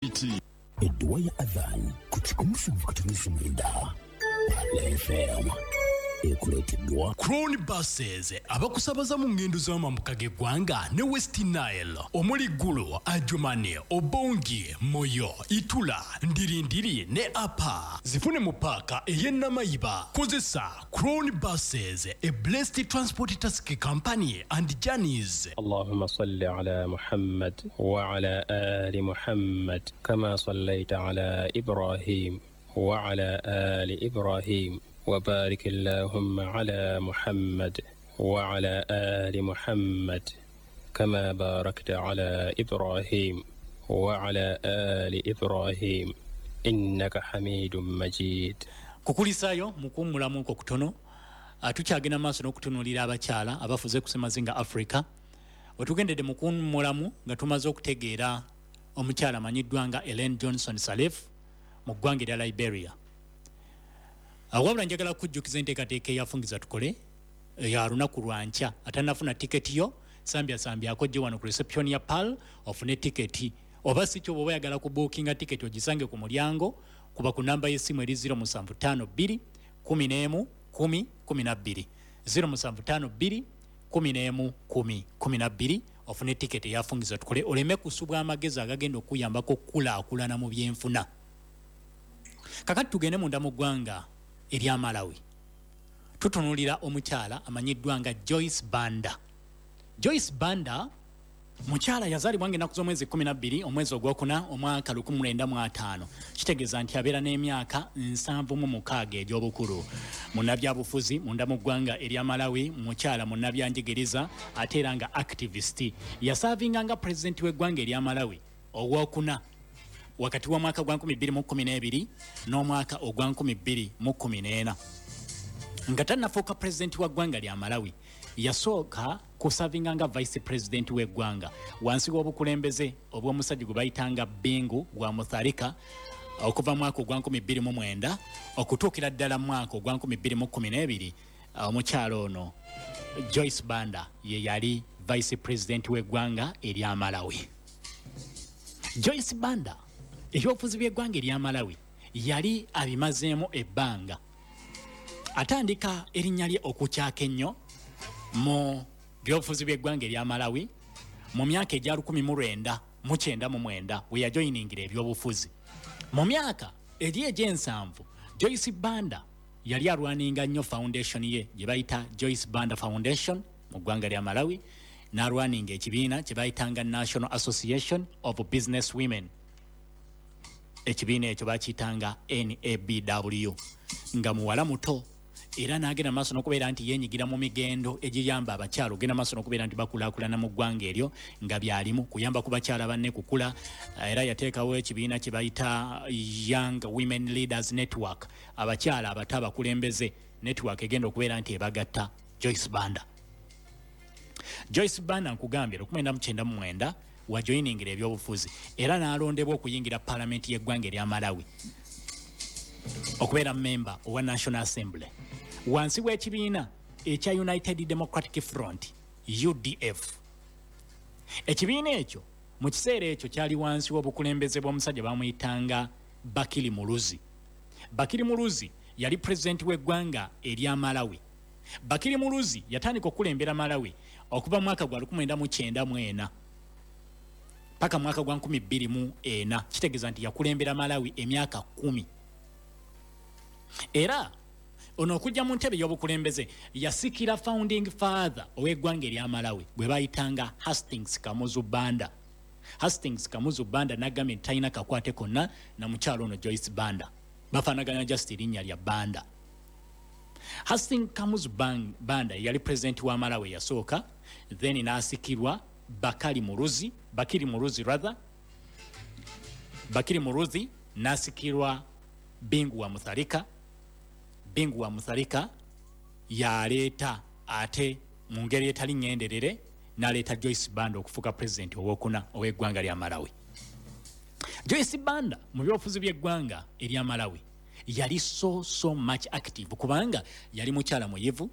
Edduwa ya Adhan ku 107.9 Pala FM ekuleeteddwa Crown Buses, abakusabaza mu ngendo z'amambuka g'eggwanga ne West Nile, omuli Gulu, Adjumani, Obongi, Moyo, Itula, Ndirindiri ne Apa. Zifune mu paaka ey'e Namayiba. Kozesa Crown Buses, a blessed transport task company and journeys. اللهم صل على محمد وعلى آل محمد كما صليت على إبراهيم وعلى آل إبراهيم، وبارك اللهم على محمد وعلى آل محمد كما باركت على إبراهيم وعلى آل إبراهيم، إنك حميد مجيد. Kukulisaayo mukuwummulamuko kutono. Tukyagenda maaso n'okutunuulira abakyala abafuze ku semazinga Africa. Wetugendedde mu kuwummulamu nga tumaze okutegeera omukyala amanyiddwa nga Ellen Johnson Sirleaf mu ggwanga erya Liberia. Wabula njagala kujjukiza enteekateeka eyafungiza tukole ya lunaku lwankya. Atanafuna tiketi yo, sambya sambyako gye wano ku reception ya Pearl ofune tiketi, oba si kyo, bw'oba oyagala ku bookinga tiketi, ogisange ku mulyango, kuba ku namba y'essimu eri 0752 11 10 12, 0752 11 10 12, ofune tiketi eyafungiza tukole, oleme kusubwa amagezi agagenda okuyambako okukulaakulana mu byenfuna. Kakati tugende munda mu ggwanga erya Malawi. Tutunulira omukyala amanyiddwa nga Joyce Banda. Joyce Banda mukyala yazaalibwa nga ennaku z'omwezi 12 omwezi ogwokuna omwaka 1950, kitegeeza nti abeera n'emyaka 76 egy'obukulu. Munnabyabufuzi munda mu ggwanga erya Malawi, mukyala munnabyanjigiriza ate era nga activist. Yaservinga nga pulezidenti w'eggwanga erya Malawi owokuna wakati w'omwaka gwa 2012 n'omwaka ogwa 2014. Nga tannafuuka pulezidenti wa ggwanga lya Malawi, yasooka kuservinga nga vice president w'eggwanga wansi w'obukulembeze obw'omusajja gwe bayitanga Bingu wa Mutharika, okuva mwaka ogwa 2009 okutuukira ddala mwaka ogwa 2012. Omukyalo ono Joyce Banda ye yali vice president w'eggwanga erya Malawi. Joyce Banda ebyobufuzi by'eggwanga erya Malawi yali abimazeemu ebbanga. Atandika erinnya lye okukyaka ennyo mu byobufuzi by'eggwanga erya Malawi mu myaka egya 1999, we yajoyiningira ebyobufuzi. Mu myaka eri egy'ensanvu, Joyce Banda yali alwaninga nnyo foundation ye gye bayita Joyce Banda Foundation mu ggwanga lya Malawi, n'alwaninga ekibiina kye bayitanga National Association of Business Women. Ekibiina ekyo bakiyitanga NABW. Nga muwala muto era n'agenda maaso n'okubeera nti yeenyigira mu migendo egiyamba abakyala ogenda maaso n'okubeera nti bakulaakulana mu ggwanga eryo, nga byalimu kuyamba ku bakyala banne kukula. Era yateekawo ekibiina kye bayita Young Women Leaders Network, abakyala abato abakulembeze, network egenda okubeera nti ebagatta. Joyce Banda, Joyce Banda nkugambye, 1999 wajoyiningira ebyobufuzi era n'alondebwa okuyingira paalamenti y'eggwanga erya Malawi okubeera memba owa National Assembly wansi w'ekibiina ekya United Democratic Front, UDF. Ekibiina ekyo mu kiseera ekyo kyali wansi w'obukulembeze bw'omusajja bamuyitanga Bakili Muluzi. Bakili Muluzi yali pulezidenti w'eggwanga erya Malawi. Bakili Muluzi yatandika okukulembera Malawi okuva mu mwaka gwa 1994 paka mwaka gwa 2004, kitegeeza nti yakulembera Malawi emyaka 10. Era ono okujja mu ntebe y'obukulembeze yasikira founding father ow'eggwanga erya Malawi gwe bayitanga Hastings Kamuzu Banda. Hastings Kamuzu Banda nagambye nti talina kakwate konna na mukyalo ono Joyce Banda, bafaanaganya just erinnya lya Banda. Hastings Kamuzu Banda yali pulezidenti wa Malawi yasooka, then n'asikirwa Bakali Muluzi, Bakili Muluzi rather, Bakili Muluzi n'asikirwa Bingu wa Mutharika. Bingu wa Mutharika yaleeta ate mu ngeri etali ŋŋenderere n'aleeta Joyce Banda okufuuka pulezidenti owokuna ow'eggwanga lya Malawi. Joyce Banda mu byobufuzi by'eggwanga erya Malawi yali so so much active, kubanga yali mukyala muyivu,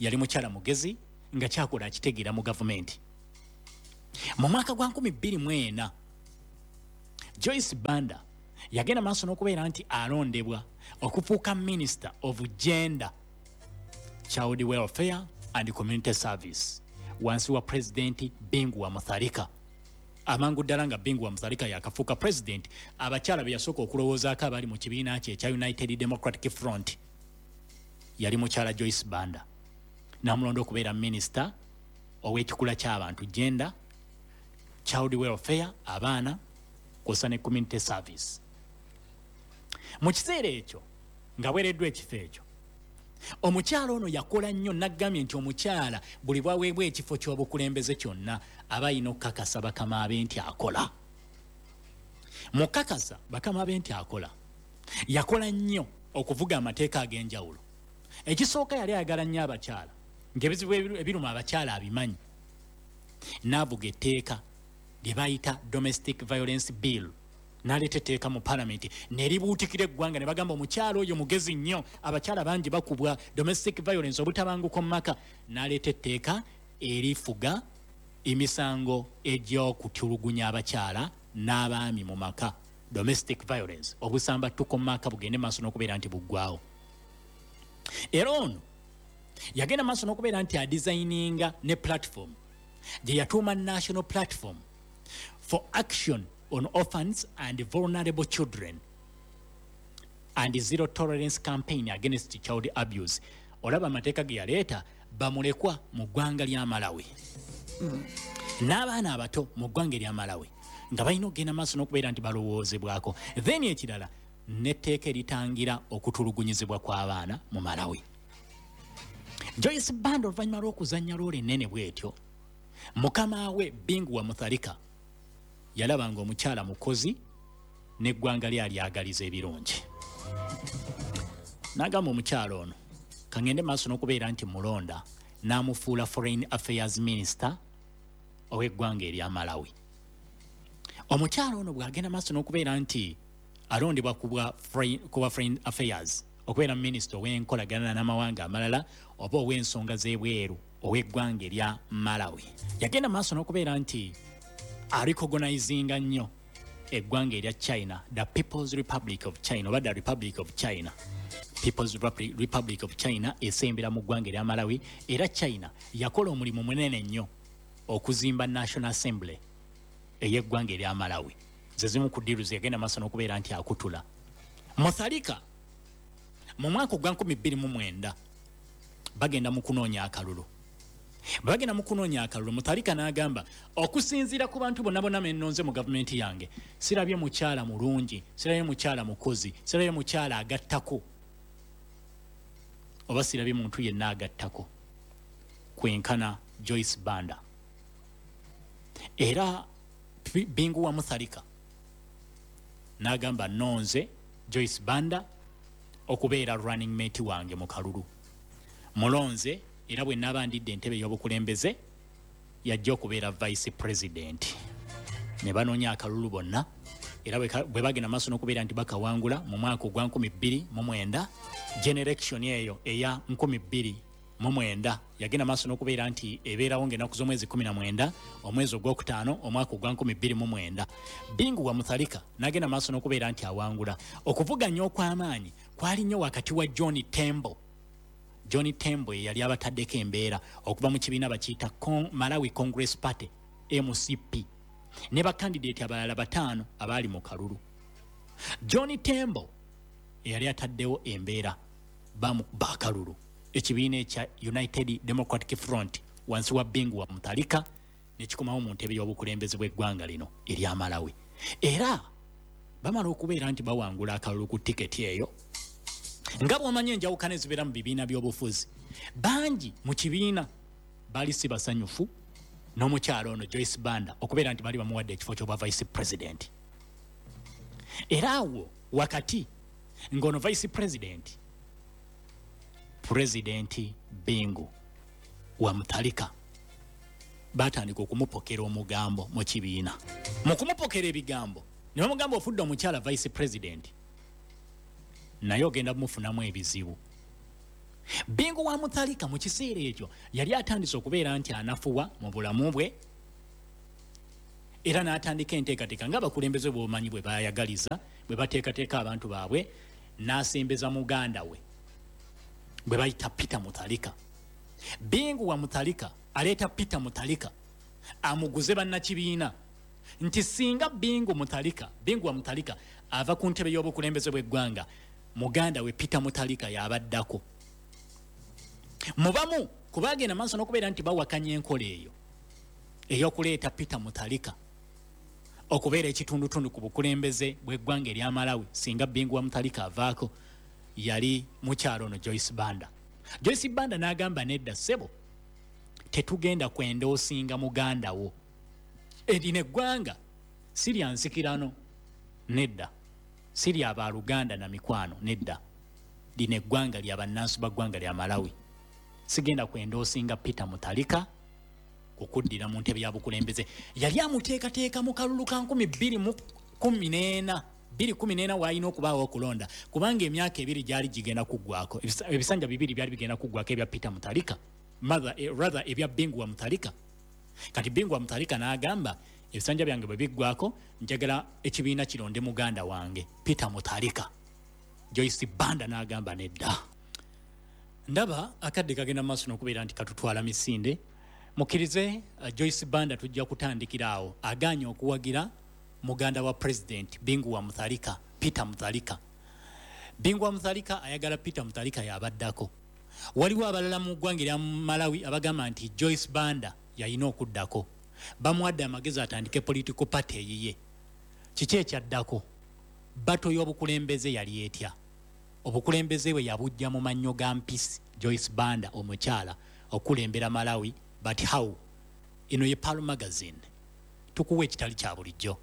yali mukyala mugezi nga kyakola akitegeera mu gavumenti. Mu mwaka gwa 2004, Joyce Banda yagenda maaso n'okubeera nti alondebwa okufuuka Minister of Gender, Child Welfare and Community Service wansi wa Pulezidenti Bingu wa Mutharika. Amangu ddala nga Bingu wa Mutharika yakafuuka Pulezidenti, abakyala be yasooka okulowoozaako abali mu kibiina kye ekya United Democratic Front yali mukyala Joyce Banda, n'amulonda okubeera minisita ow'ekikula ky'abantu, gender, child welfare, abaana kwossa ne community service. Mu kiseera ekyo nga bwereddwa ekifo ekyo, omukyala ono yakola nnyo. Naggambye nti omukyala buli bwaweebwa ekifo ky'obukulembeze kyonna aba alina okukakasa bakama be nti akola. Mukakasa bakama be nti akola, yakola nnyo okuvuga amateeka ag'enjawulo. Ekisooka, yali ayagala nnyo abakyala, ng'ebizibu ebiruma abakyala abimanyi, n'avuga etteeka lye bayita Domestic Violence Bill, n'aleeta etteeka mu Palamenti ne libuutikira eggwanga, ne bagamba omukyala oyo mugezi nnyo, abakyala bangi bakubwa, domestic violence, obutabanguko mu maka, n'aleeta etteeka erifuga emisango egy'okutulugunya abakyala n'abaami mu maka, domestic violence, obusambattuko mu maka bugende maaso n'okubeera nti buggwawo. Era ono yagenda maaso n'okubeera nti adesigninga ne platform gye yatuuma National Platform for Action on Orphans and Vulnerable Children and Zero Tolerance Campaign Against Child Abuse. Olaba amateeka ge yaleeta, bamulekwa mu ggwanga lya Malawi n'abaana abato mu ggwanga erya Malawi nga balina okugenda maaso n'okubeera nti balowoozebwako. Then ekirala, n'etteeka eritangira okutulugunyizibwa kw'abaana mu Malawi. Joyce Banda, oluvannyuma lw'okuzannya role ennene bw'etyo, mukama we Bingu wa Mutharika yalaba nga omukyala mukozi n'eggwanga lye alyagaliza ebirungi, n'agamba omukyala ono kaŋŋende maaso n'okubeera nti mulonda, n'amufuula Foreign Affairs Minister ow'eggwanga erya Malawi. Omukyala ono bw'agenda maaso n'okubeera nti alondebwa ku bwa Foreign Affairs, okubeera minisita ow'enkolagana n'amawanga amalala oba ow'ensonga z'ebweru ow'eggwanga erya Malawi, yagenda maaso n'okubeera nti arecognizinga nnyo eggwanga erya China, the People's Republic of China, oba the Republic of China, People's Republic of China esembera mu ggwanga erya Malawi. Era China yakola omulimu munene nnyo okuzimba National Assembly ey'eggwanga erya Malawi. Ze zimu ku deals yagenda maaso n'okubeera nti akutula. Mutharika mu mwaka ogwa 2009 bagenda mu kunoonya akalulu. Bwe bagenda mu kunoonya akalulu, Mutharika n'agamba, okusinziira ku bantu bonna bonna mennonze mu gavumenti yange, sirabye mukyala mulungi, sirabye mukyala mukozi, sirabye mukyala agattako, oba sirabye muntu yenna agattako kwenkana Joyce Banda. Era Bingu wa Mutharika n'agamba, nonze Joyce Banda okubeera running mate wange mu kalulu, mulonze, era bwe naaba ndidde entebe ey'obukulembeze yajja okubeera vice president. Ne banoonya akalulu bonna, era bwe bagenda maaso n'okubeera nti bakawangula mu mwaka ogwa 2009, generation eyo eya 2009 yagenda maaso n'okubeera nti ebeerawo ng'ennaku z'omwezi 19 omwezi ogwokutaano omwaka ogwa 2009. Bingu wa Mutharika n'agenda maaso n'okubeera nti awangula. Okuvuganya okw'amaanyi kwali nnyo wakati wa John Tembo. John Tembo ye yali abataddeko embeera okuva mu kibiina bakiyita Malawi Congress Party, MCP, ne bakandidate abalala bataano abaali mu kalulu. John Tembo eyali ataddewo embeera bamukuba akalulu, ekibiina ekya United Democratic Front wansi wa Bingu wa Mutharika nekikomawo mu ntebe y'obukulembeze bw'eggwanga lino erya Malawi. Era bamala okubeera nti bawangula akalulu ku tiketi eyo, nga bw'omanyi enjawukana ezibeera mu bibiina by'obufuzi, bangi mu kibiina baali si basanyufu n'omukyalo ono Joyce Banda okubeera nti baali bamuwadde ekifo ky'obwa vice president. Era awo wakati ng'ono vice president, Pulezidenti Bingu wa Mutharika, batandika okumupokera omugambo mu kibiina. Mu kumupokera ebigambo ne bamugamba, ofudde omukyala vice president, naye ogenda bumufunamu ebizibu. Bingu wa Mutharika mu kiseera ekyo yali atandise okubeera nti anafuwa mu bulamu bwe. Era n'atandika enteekateeka ng'abakulembeze b'omanyi bwe bayagaliza, bwe bateekateeka abantu baabwe, n'asembeza muganda we bwe bayita Peter Mutharika. Bingu wa Mutharika aleeta Peter Mutharika amuguze bannakibiina nti singa Bingu wa Mutharika ava ku ntebe y'obukulembeze bw'eggwanga, muganda we Peter Mutharika y'abaddako. Mubamu kubagenda maaso n'okubeera nti bawakanya enkola eyo ey'okuleeta Peter Mutharika okubeera ekitundutundu ku bukulembeze bw'eggwanga erya Malawi singa Bingu wa Mutharika avaako, yali mukyalo ono Joyce Banda. Joyce Banda n'agamba nedda ssebo, tetugenda kwenda osinga muganda wo, erino eggwanga si lya nsikirano, nedda, si lya baluganda na mikwano, nedda, lino eggwanga lya bannansi ba ggwanga lya Malawi, sigenda kwenda osinga Peter Mutharika okuddira mu ntebe ya bukulembeze. Yali amuteekateeka mu kalulu ka 2014, 2014 waalina okubaawo okulonda, kubanga emyaka ebiri gyali gigenda kuggwako, ebisanja bibiri byali bigenda kuggwako ebya Peter Mutharika, rather ebya Bingu wa Mutharika. Kati Bingu wa Mutharika n'agamba ebisanja byange bwe biggwako njagala ekibiina kironde muganda wange Peter Mutharika. Joyce Banda n'agamba nedda. Ndaba akadde kagenda maaso n'okubeera nti katutwala misinde. Mukkirize Joyce Banda tujja kutandikira awo agaanye okuwagira muganda wa President Bingu wa Mutharika, Peter Mutharika. Bingu wa Mutharika ayagala Peter Mutharika y'abaddako. Waliwo abalala mu ggwanga erya Malawi abagamba nti Joyce Banda yalina okuddako, bamuwadde amagezi atandike political party eyiye. Kiki ekyaddako? Bato y'obukulembeze yali etya? Obukulembeze bwe yabujja mu mannyo ga mpisi Joyce Banda omukyala okulembera Malawi, but how? Eno ye Pearl Magazine, tukuwa ekitali kya bulijjo.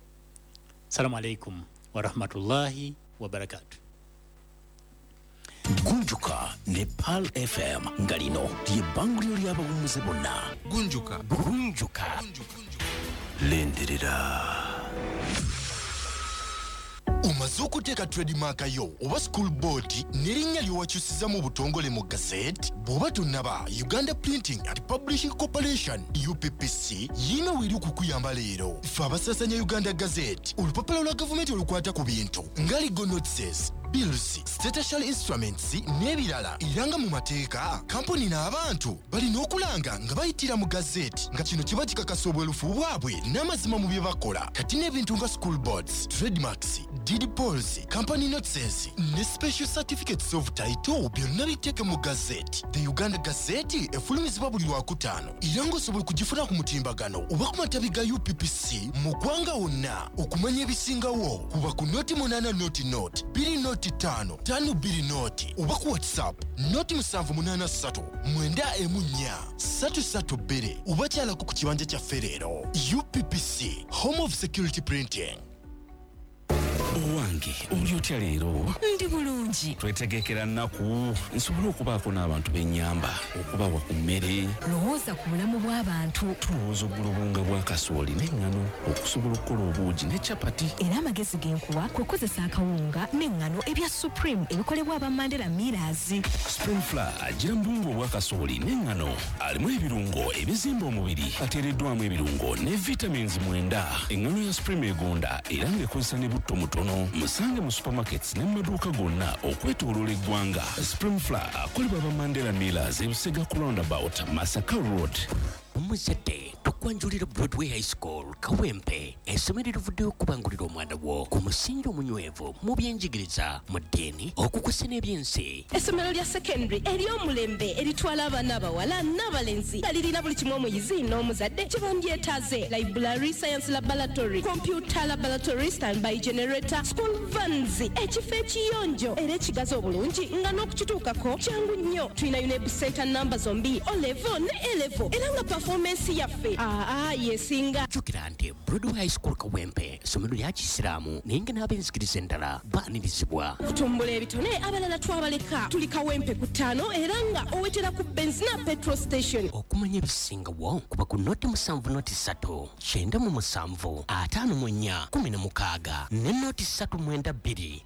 Salamu alaikum wa rahmatullahi wa barakatuh. Gunjuka ne Pearl FM nga lino ly'ebbanguliro ly'abawummuze bonna. Gunjuka. Gunjuka. Lindirira. Omaze okuteeka trademark yo oba school board n'erinnya ly'owakyusiza mu butongole mu gazette? Bw'oba tonnaba, Uganda Printing and Publishing Corporation UPPC yiina weeri okukuyamba leero. Ffe abasaasanya Uganda Gazette, olupapula lwa gavumenti olukwata ku bintu nga legal notices, bills, statutory instruments n'ebirala, era nga mu mateeka kampuni n'abantu balina okulanga nga bayitira mu gazette, nga kino kiba kikakasa obwerufu bwabwe n'amazima mu bye bakola. Kati n'ebintu nga school boards, trademarks, deed polls, company notices ne special certificates of title byonna biteeke mu gazette. The Uganda Gazette efulumizibwa buli Lwakutaano, era ng'osobola okugifuna ku mutimbagano oba ku matabi ga UPPC mu ggwanga wonna. Okumanya ebisingawo kuba ku 08 00 20 5 5 20 oba ku WhatsApp 0783 94 332 oba kyalako ku kibanja kyaffe leero. UPPC, Home of Security Printing. Owange, oli otya leero? Ndi bulungi. Twetegekera nnaku nsobole okubaako n'abantu b'ennyamba, okubawa ku mmere. Lowooza ku bulamu bw'abantu. Tulowooza ogula obuwunga bwa kasooli n'eŋŋano okusobola okukola obuugi ne capati. Era amagezi ge nkuwa kwe kukozesa akawunga n'eŋŋano ebya Supreme ebikolebwa aba Mandela Millers. Supreme Flour agira mu buwunga obwa kasooli n'eŋŋano, alimu ebirungo ebizimba omubiri, ateereddwamu ebirungo ne vitamins 9. Eŋŋano ya Supreme egonda era ng'ekozesa ne butto mutono. Musange mu supermarkets ne mu maduuka gonna okwetooloola eggwanga. Supreme Flour akolebwa aba Mandela Millers e Busega ku roundabout Masaka Road. Omuzadde tukwanjulira Broadway High School Kawempe, essomero erivuddeyo okubangulira omwana wo ku musingi omunywevu mu byenjigiriza, mu ddiini, okukusa n'ebyensi. Essomero lya secondary ery'omulembe eritwala abaana abawala n'abalenzi nga lirina buli kimu omuyizi n'omuzadde kye bandyetaaze: library, science laboratory, computer laboratory, standby generator, school vans, ekifo ekiyonjo era ekigazi obulungi nga n'okukituukako kyangu nnyo. Tulina UNEB center namba zombi, O level ne A level, era nga performance yaffe yesinga. Jjukira nti Broadway High School Kawempe ssomero lya Kisiraamu, naye nga n'ab'enzikiriza endala baanirizibwa. Kutumbula ebitone abalala twabaleka. Tuli Kawempe ku 5 era nga owetera ku Benzina petrol station. Okumanya ebisingawo kuba ku 07 03 97 54 16 ne 392.